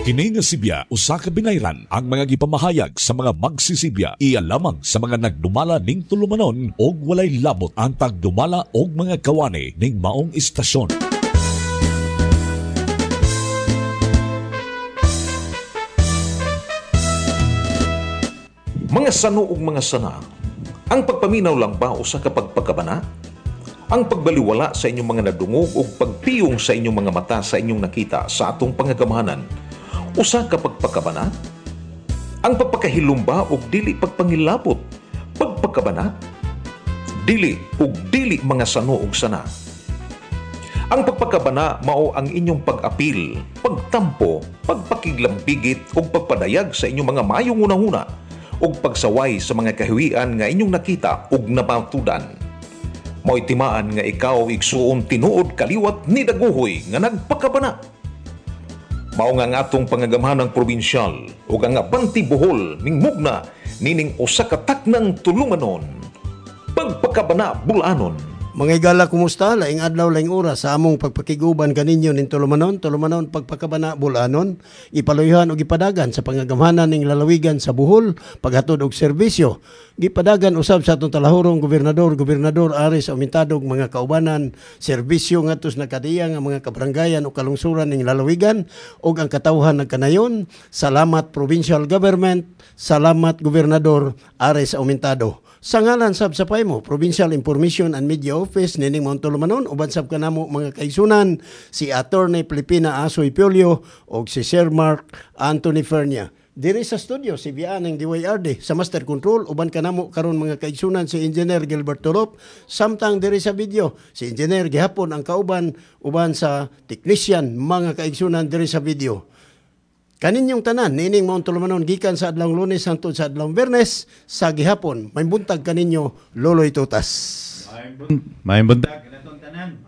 Kini nga sibya usa ka binayran ang mga gipamahayag sa mga magsisibya, iya lamang sa mga nagdumala ning tulumanon og walay labot ang tagdumala og mga kawani ning maong istasyon. Mga sano ug mga sana, ang pagpaminaw lang ba usa ka pagpakabana? Ang pagbaliwala sa inyong mga nadungog ug pagpiyong sa inyong mga mata sa inyong nakita sa atong pangagamhanan, usa ka pagpakabana? Ang pagpakahilom ba ug dili pagpangilabot, pagpakabana? Dili ug dili, mga sano ug sana. Ang pagpakabana mao ang inyong pag-apil, pagtampo, pagpakiglambigit ug pagpadayag sa inyong mga maayong hunahuna ug pagsaway sa mga kahiwian nga inyong nakita ug napatudan. Mao'y timaan nga ikaw, igsuon, tinuod kaliwat ni Daguhoy nga nagpakabana. Mao nga ang atong pangagamhanang probinsyal ug ang Abante Bohol mingmugna nining usa ka taknang tulumanon. Pagpakabana Bulanon. Mga igala, kumusta? Laing adlaw, laing oras sa among pagpakiguban kaninyo ning tulumanon, tulumanon Pagpakabana Bulanon, ipaluyhan og ipadagan sa pangagamhanan ning lalawigan sa Bohol, paghatod og serbisyo. Gipadagan usab sa atong talahurong gobernador, Gobernador Aris Aumentado, ug mga kaubanan, serbisyo ngadto sa nakadiya nga mga kabaranggayan o kalungsuran ning lalawigan ug ang katawhan nagkanayon. Salamat, provincial government, salamat, Gobernador Aris Aumentado. Sa ngalan sab sa PAIMO, Provincial Information and Media Office nining maong tulumanon, uban sab kanamo, mga kaigsunan, si Attorney Pilipina Asoy Piolio ug si Sir Mark Anthony Fernia. Diri sa studio si Bian ng DYRD sa Master Control, uban kanamo karon, mga kaigsunan, si Engineer Gilbert Torop, samtang diri sa video si Engineer gihapon ang kauban uban sa technician, mga kaigsunan, diri sa video. Kaninyong tanan, nining maong tulumanon gikan sa adlaw Lunes hangtod sa adlaw Biyernes sa gihapon. May buntag kaninyo, Loloy Tutas. May buntag kanatong tanan.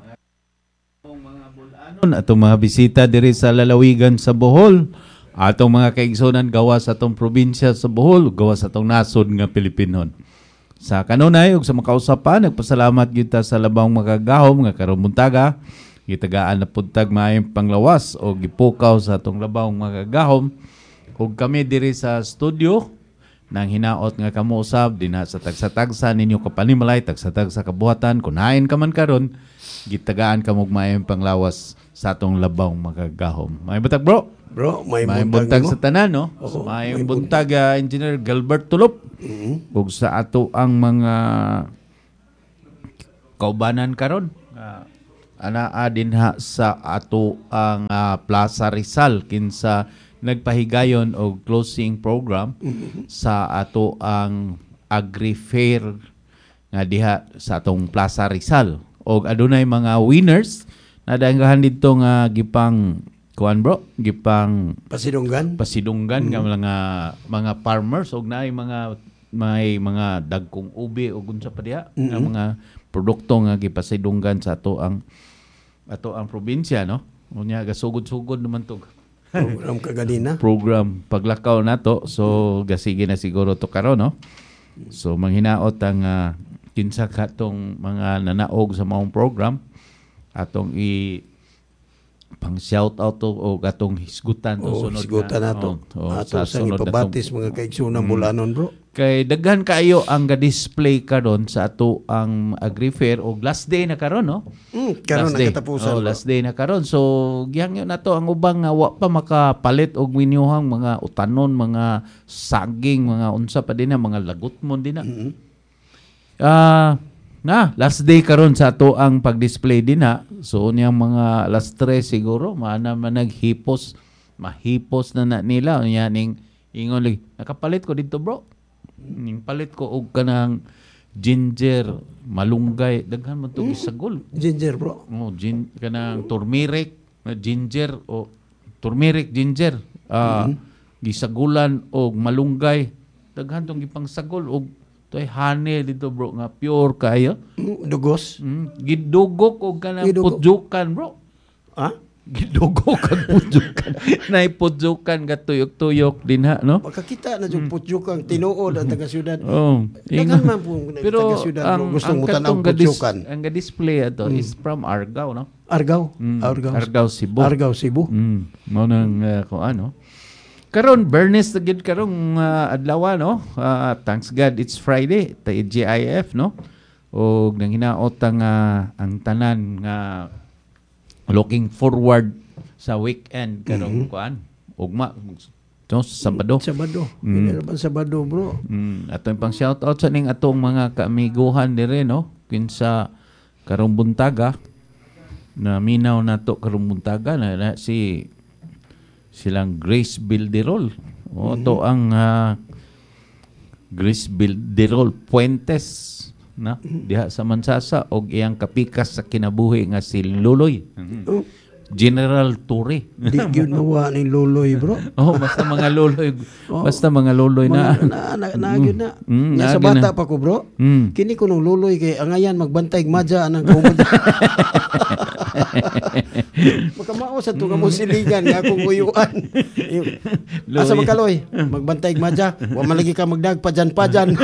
Mga bulanon, atong mga bisita diri sa lalawigan sa Bohol, atong mga kaigsunan gawas sa atong probinsya sa Bohol, gawas sa atong nasod nga Pilipinon. Sa kanunay ug sa makausapan, nagpasalamat kita sa labang makagahom nga karong buntaga gitagaan na pud tag maayong panglawas o gipukaw sa atong labang makagahom, ug kami diri sa studio nang hinaot nga kamo usab dinha sa tagsa-tagsa ninyo kapanimalay, tagsa-tagsa kabuhatan, kun hain ka man karon, gitagaan kamo og maayong panglawas sa atong labang makagahom. Maayong buntag, bro. Bro, may Maayong buntag buntag nimo. Sa tanan, no? Oo, Maayong may buntag, Engineer Gilbert Tulop. Ug sa ato ang mga kaubanan karon anaa dinha sa ato ang Plaza Rizal, kinsa nagpahigayon og closing program sa ato ang Agri Fair nga diha sa atong Plaza Rizal, og adunay mga winners na danggahan didto nga gipang kuan, bro, gipang Pasidunggan. Pasidunggan nga mga farmers, og naay mga may mga dagkong ubi o unsa pa diha nga mga produkto nga gipasidunggan sa ato ang probinsya, no? Unya gasugod-sugod naman to Program kaganina. Program paglakaw nato, so gasige na siguro to karon, no? So manghinaot ang kinsa katong mga nanaog sa maong program, atong i pang shout out to o atong hisgutan to Oh, sunod hisgutan na, nato. Oh, Ato sa sang sunod natong- ipabatis, mga kaigsunan bulanon, bro. Kay daghan kaayo ang ga-display karon sa ato ang Agri Fair, og last day na karon, no? Karon Last ang day. katapusan, Oh, bro. last day na karon. So gihangyo na to ang ubang nga wa pa makapalit og minyuhang mga utanon, mga saging, mga unsa pa din na mga lagutmon din na. Na last day karon sa ato ang pag-display din na. So niyang mga last 3 siguro maana man naghipos, mahipos na na nila unya ning ingon lagi, "Nakapalit ko dito, bro." Ning palit ko og kanang ginger, malunggay, daghan man to gisagol. Ginger, bro. Oh, kanang turmeric, na ginger o turmeric ginger. Gisagulan og malunggay. Daghan tong gipangsagol og toy honey dito, bro, nga pure kayo. Dugos. Gidugok og kanang Gidugok. pudjukan, bro. Ha? Gidugok ang pudjukan. Nay pudjukan ga tuyok-tuyok dinha, no? Makakita na yung putyukan tinuod ang taga syudad. Oh, Daghan man po Pero taga syudad, bro, ang gustong ang mutan-aw katong putyukan. ang ga-display ato is from Argao, no? Argao. Argao. Argao, Cebu. Argao, Cebu. Mao nang kuan, no. Karon Bernes na gid karong adlaw, no. Thanks God it's Friday, TGIF, no. Og nanginaot ang tanan nga looking forward sa weekend karong kuan. Ugma, no, sa Sabado. Sabado. Mm. Sabado, bro. Atong pang shout out sa ning atong mga kaamiguhan dire, no. Kinsa karong buntaga na minaw nato karong buntaga na si silang Grace Bilderol. O to ang Grace Bilderol Puentes na diha sa Mansasa og iyang kapikas sa kinabuhi nga si Luloy. Oh, General Torre. di gyud mawa ni Luloy, bro. Oh, basta mga luloy, basta mga luloy na. Mga, na gyud na. Nya sa Na gyud bata na. pa ko, bro. Kini ko nung Luloy kay angayan magbantay og madya anang kaumod. Makamao sa tunga mo siligan nga akong uyuan. Asa Luloy. man kaloy? Magbantay og madya. Wa man lagi ka magdagpajan-pajan.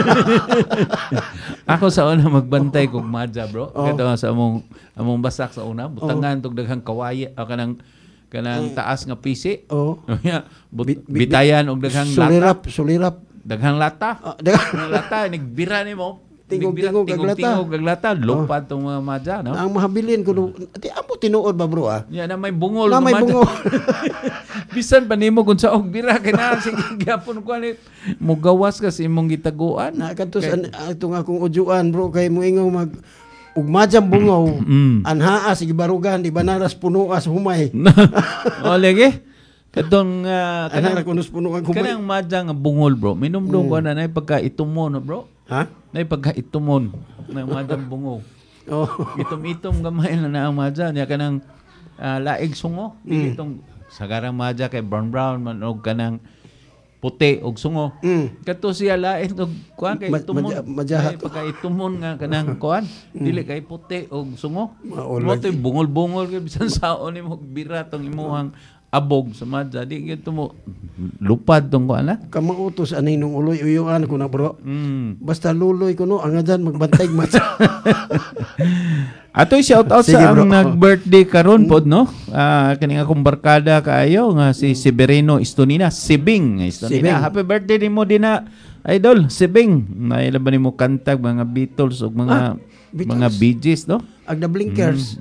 Ako sa una magbantay kog madya, bro. Kato sa among basak sa una, butangan tog daghang kawaye o kanang taas nga pisi. Oh. Yeah, bitayan og daghang lata, Sulirap, sulirap. daghang lata. Ah, Daghang lata nigbira nimo. Tingog-tingog Nigbira, ang lata. tingog-tingog ang lata, lupad tong mga madya, no? Ang mahabilin ko di amo tinuod ba, bro, ah? Ya na may bungol Na nga may madya. bungol. Bisan pa nimo kung sa og bira kay na sige gyapon ko ani mugawas ka sa imong gitaguan. Na kadto sa atong akong ujuan, bro, kay moingaw mag ug madyang bungaw anhaa sige barugan di banaras punuas humay. O lagi. Katong Kanang ra kunos punuan humay. kanang madya nga bungol, bro. Minumdum ko na nay pagka itumon, no, bro. Ha? Nay pagka itumon na madyang bungaw. Oh. Itom-itom gamay na na ang madya niya kanang laig sungo. Itong sagarang madya kay brown brown man og kanang puti og sungo. Kato siya lain og kuan kay itumon. Madyaha Ay, pagka itumon nga kanang kuan, dili kay puti og sungo. Mao Mo to'y bungol-bungol kay bisan saon nimo bira tong imuhang abog sa madya di gyud mo lupad tong kuan na. Kamautos ani nung uloy uyuan ko na, bro. Basta Luloy ko no angadan magbantay madya. Atoy shout out Sige, sa bro. ang nag-birthday karon pod, no. Kaning akong barkada kaayo nga si Severino Estonina, Sibing Estonina. Sibing. Happy birthday nimo dinha, idol Sibing. Naila ba nimo kantag mga Beatles ug mga Beatles. mga Bee Gees, no? Ag the Blinkers.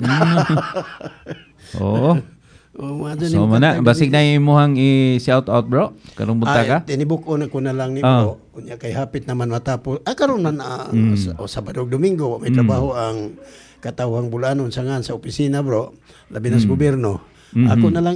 Oo. Oh, mga So mana basig na imuhang i-shout out, bro, karong buntaga. Ay, tinibuk-on ko na lang ni bro. Unya kay hapit naman matapos. Ah, karon na na o Sabado ug Domingo may trabaho ang katawhang bulanon sa ngan sa opisina, bro. Labi na sa gobyerno. Ako na lang.